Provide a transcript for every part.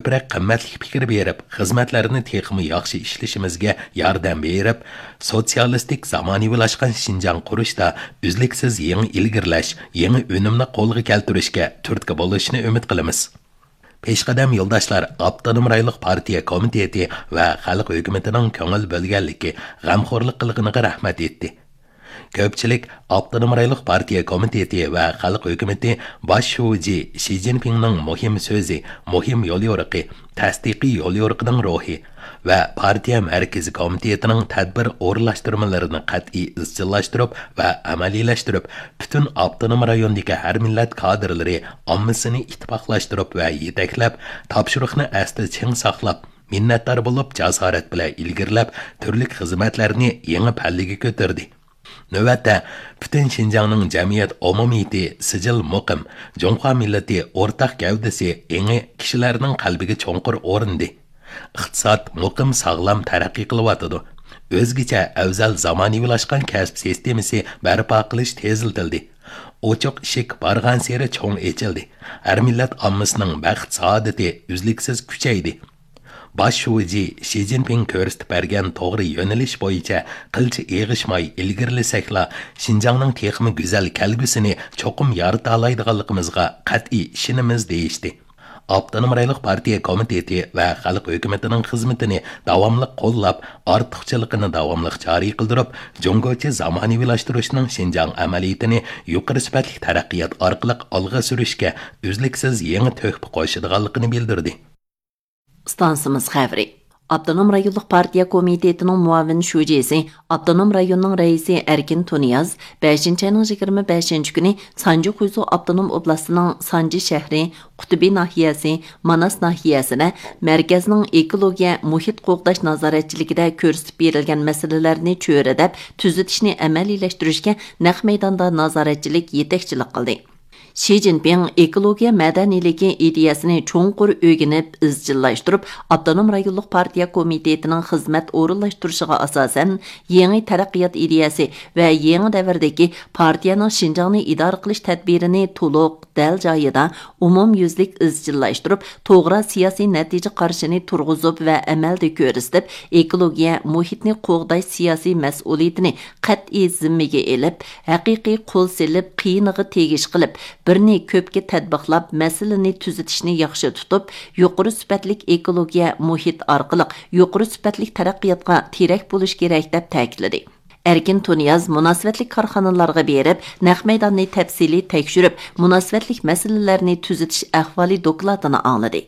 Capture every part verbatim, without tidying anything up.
بىرەر قىممەتلىك پىكىر بېرىپ، خىزمەتلەرنى تېخىمۇ ياخشى ئىشلىشىمىزگە ياردەم بېرىپ، سوتسىيالىستىك زامانىۋىلاشقان شىنجاڭ قۇرۇشتا ئۈزلۈكسىز يېڭى ئىلگىرىلەش، يېڭى ئۈنۈمنى قولغا كەلتۈرۈشكە تۈرتكە بولۇشىنى ئۈمىد قىلىمىز. پېشقەدەم يولداشلار ئاپتونوم رايونلۇق پارتىيە كومىتېتى ۋە خەلق ھۆكۈمىتىنىڭ كۆڭۈل بۆلگەنلىكى، غەمخورلۇق قىلغىنىغا رەھمەت ئېيتتى. كۆپچىلىك ئاپتونوم رايونلۇق پارتىيە كومىتېتى ۋە خەلق ھۆكۈمىتى باش شۇجى شى جىنپىڭنىڭ مۇھىم سۆزى، مۇھىم يوليورۇقى، تەستىقىي يوليورۇقىنىڭ روھى ۋە پارتىيە مەركىزىي كومىتېتىنىڭ تەدبىر ئورۇنلاشتۇرمىلىرىنى قەتئىي ئىزچىللاشتۇرۇپ ۋە ئەمەلىيلەشتۈرۈپ، پۈتۈن ئاپتونوم رايوندىكى ھەر مىللەت كادىرلىرى ئاممىسىنى ئىتتىپاقلاشتۇرۇپ ۋە يېتەكلەپ، تاپشۇرۇقنى ئەستە چىڭ ساقلاپ، مىننەتدار بولۇپ، جاسارەت بىلەن ئىلگىرىلەپ، تۈرلۈك خىزمەتلەرنى يېڭى پەللىگە كۆتۈردى. نۆۋەتتە، پۈتۈن شىنجاڭنىڭ جەمئىيەت ئومۇمىيىتى سىجىل مۇقىم، جۇڭخۇا مىللىتى ئورتاق گەۋدىسى ئېڭى كىشىلەرنىڭ قەلبىگە چوڭقۇر ئورنىدى. ئىقتىساد مۇقىم ساغلام تەرەققىي قىلىۋاتىدۇ. ئۆزگىچە ئەۋزەل زامانىۋىلاشقان كەسىپ سىستېمىسى بەرپا قىلىش تېزلىتىلدى. ئوچۇق ئىشىك بارغانسېرى چوڭ ئېچىلدى. ھەر مىللەت ئاممىسىنىڭ بەخت سائادىتى ئۈزلۈكسىز كۈچەيدى. باش شۇجى شى جىنپىڭ كۆرسىتىپ بەرگەن توغرا يۆنىلىش بويىچە قىلچە ئېغىشماي ئىلگىرىلىسەكلا، شىنجاڭنىڭ تېخىمۇ گۈزەل كەلگۈسىنى چوقۇم يارىتالايدىغانلىقىمىزغا قەتئىي ئىشىنىمىز، دېيىشتى. ئاپتونوم رايونلۇق پارتىيە كومىتېتى ۋە خەلق ھۆكۈمىتىنىڭ خىزمىتىنى داۋاملىق قوللاپ، ئارتۇقچىلىقىنى داۋاملىق جارى قىلدۇرۇپ، جۇڭگوچە زامانىۋىلاشتۇرۇشنىڭ شىنجاڭ ئەمەلىيىتىنى يۇقىرى سۈپەتلىك تەرەققىيات ئارقىلىق ئالغا سۈرۈشكە ئۈزلۈكسىز يېڭى تۆھپە قوشىدىغانلىقىنى بىلدۈردى. ئىستانسىمىز خەۋىرى. ئاپتونوم رايونلۇق پارتىيە كومىتېتىنىڭ مۇئاۋىن شۇجىسى، ئاپتونوم رايوننىڭ رەئىسى ئەركىن تۇنىياز بەشىنچى ئاينىڭ يىگىرمە بەشىنچى كۈنى سانجى خۇيزۇ ئاپتونوم ئوبلاستىنىڭ سانجى شەھىرى، قۇتبى ناھىيەسى، ماناس ناھىيەسىدە مەركەزنىڭ ئېكولوگىيە، مۇھىت قوغداش نازارەتچىلىكىدە كۆرسىتىپ بېرىلگەن مەسىلىلەرنى چۆرىدەپ، تۈزىتىشنى ئەمەلىيلەشتۈرۈشكە نەق مەيداندا نازارەتچىلىك، يېتەكچىلىك قىلدى. شى جىنپىڭ ئېكولوگىيە مەدەنىيلىكى ئىدىيەسىنى چوڭقۇر ئۆگىنىپ، ئىزچىللاشتۇرۇپ، ئاپتونوم رايونلۇق پارتىيە كومىتېتىنىڭ خىزمەت ئورۇنلاشتۇرۇشىغا ئاساسەن، يېڭى تەرەققىيات ئىدىيەسى ۋە يېڭى دەۋردىكى پارتىيەنىڭ شىنجاڭنى ئىدارە قىلىش تەدبىرىنى تولۇق، دەل جايىدا، ئومۇميۈزلۈك ئىزچىللاشتۇرۇپ، توغرا سىياسىي نەتىجە قارىشىنى تۇرغۇزۇپ ۋە ئەمەلدە كۆرسىتىپ، ئېكولوگىيە، مۇھىتنى قوغداش سىياسىي مەسئۇلىيىتىنى قەتئىي زىممىگە ئېلىپ، ھەقىقىي قول سېلىپ، قىيىنىغا تېگىش قىلىپ، بىرنى كۆپكە تەتبىقلاپ، مەسىلىنى تۈزىتىشنى ياخشى تۇتۇپ، يۇقىرى سۈپەتلىك ئېكولوگىيە، مۇھىت ئارقىلىق يۇقىرى سۈپەتلىك تەرەققىياتقا تىرەك بولۇش كېرەك، دەپ تەكىتلىدى. ئەركىن تۇنىياز مۇناسىۋەتلىك كارخانىلارغا بېرىپ، نەق مەيداننى تەپسىلىي تەكشۈرۈپ، مۇناسىۋەتلىك مەسىلىلەرنى تۈزىتىش ئەھۋالى دوكلاتىنى ئاڭلىدى.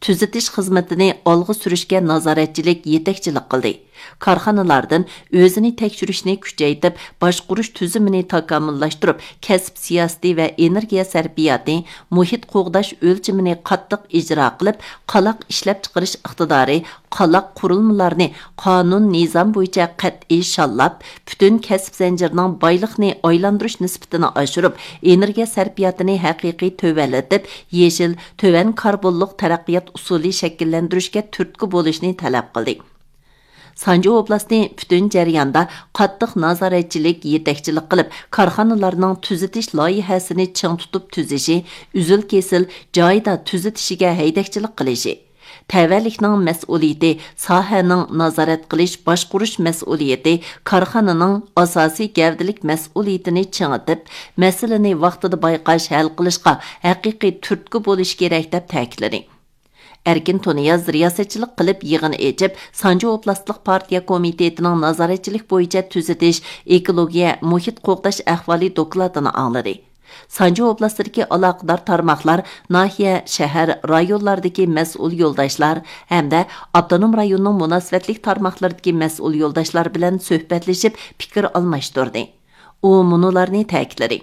تۈزىتىش خىزمىتىنى ئالغا سۈرۈشكە نازارەتچىلىك، يېتەكچىلىك قىلدى. كارخانىلاردىن ئۆزىنى تەكشۈرۈشنى كۈچەيتىپ، باشقۇرۇش تۈزۈمىنى تاكامۇللاشتۇرۇپ، كەسىپ سىياسىتى ۋە ئېنېرگىيە سەرپىياتى، مۇھىت قوغداش ئۆلچىمىنى قاتتىق ئىجرا قىلىپ، قالاق ئىشلەپچىقىرىش ئىقتىدارى، قالاق قۇرۇلمىلارنى قانۇن، نىزام بويىچە قەتئىي شاللاپ، پۈتۈن كەسىپ زەنجىرىنىڭ بايلىقنى ئايلاندۇرۇش نىسبىتىنى ئاشۇرۇپ، ئېنېرگىيە سەرپىياتىنى ھەقىقىي تۆۋەنلىتىپ، يېشىل، تۆۋەن كاربونلۇق تەرەققىيات ئۇسۇلى شەكىللەندۈرۈشكە تۈرتكە بولۇشنى تەلەپ قىلدى. سانجى ئوبلاستى پۈتۈن جەرياندا قاتتىق نازارەتچىلىك، يېتەكچىلىك قىلىپ، كارخانىلارنىڭ تۈزىتىش لايىھەسىنى چىڭ تۇتۇپ تۈزۈشى، ئۈزۈل-كېسىل جايىدا تۈزىتىشىگە ھەيدەكچىلىك قىلىشى، تەۋەلىكنىڭ مەسئۇلىيىتى، ساھەنىڭ نازارەت قىلىش، باشقۇرۇش مەسئۇلىيىتى، كارخانىنىڭ ئاساسىي گەۋدىلىك مەسئۇلىيىتىنى چىڭىتىپ، مەسىلىنى ۋاقتىدا بايقاش، ھەل قىلىشقا ھەقىقىي تۈرتكە بولۇش كېرەك، دەپ تەكىتلىدى. ئەركىن تۇنىياز رىياسەتچىلىك قىلىپ يىغىن ئېچىپ، سانجى ئوبلاستلىق پارتىيە كومىتېتىنىڭ نازارەتچىلىك بويىچە تۈزىتىش، ئېكولوگىيە، مۇھىت قوغداش ئەھۋالى دوكلاتىنى ئاڭلىدى. سانجى ئوبلاستىدىكى ئالاقىدار تارماقلار، ناھىيە، شەھەر، رايونلاردىكى مەسئۇل يولداشلار ھەمدە ئاپتونوم رايوننىڭ مۇناسىۋەتلىك تارماقلىرىدىكى مەسئۇل يولداشلار بىلەن سۆھبەتلىشىپ پىكىر ئالماشتۇردى. ئۇ مۇنۇلارنى تەكىتلىدى.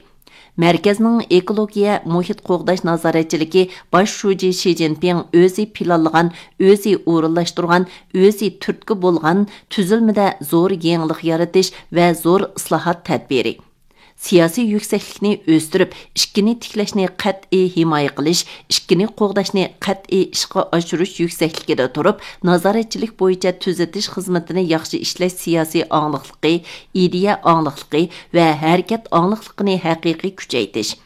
مەركەزنىڭ ئېكولوگىيە، مۇھىت قوغداش نازارەتچىلىكى باش شۇجى شى جىنپىڭ ئۆزى پىلانلىغان، ئۆزى ئورۇنلاشتۇرغان، ئۆزى تۈرتكە بولغان تۈزۈلمىدە زور يېڭىلىق يارىتىش ۋە زور ئىسلاھات تەدبىرى. سىياسىي يۈكسەكلىكنى ئۆستۈرۈپ، ئىككىنى تىكلەشنى قەتئىي ھىمايە قىلىش، ئىككىنى قوغداشنى قەتئىي ئىشقا ئاشۇرۇش يۈكسەكلىكىدە تۇرۇپ، نازارەتچىلىك بويىچە تۈزىتىش خىزمىتىنى ياخشى ئىشلەش سىياسىي ئاڭلىقلىقى، ئىدىيە ئاڭلىقلىقى ۋە ھەرىكەت ئاڭلىقلىقىنى ھەقىقىي كۈچەيتىش.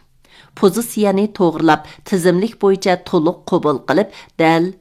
پوزىتسىيەنى توغرىلاپ، تىزىملىك بويىچە تولۇق قوبۇل قىلىپ، دەل،